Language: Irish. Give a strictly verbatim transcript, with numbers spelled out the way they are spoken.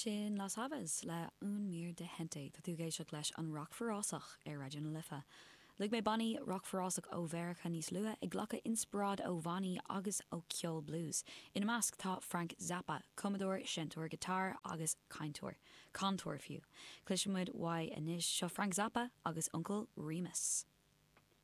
Sin Las Aves le Un Mar de Gente tá tú ag éisteacht leis an Rac Forásach ar Raidió na Life. Luaigh mé bannaí rac forásach ó Mheiriceá níos luaithe ag glacadh inspioráid ó bhannaí agus ó ceol blues. Ina measc tá Frank Zappa, cumadóir seinnteoir giotár agus cainteoir, cantóir fiú. Cloisfimid uaidh anois seo Frank Zappa agus Uncle Remus.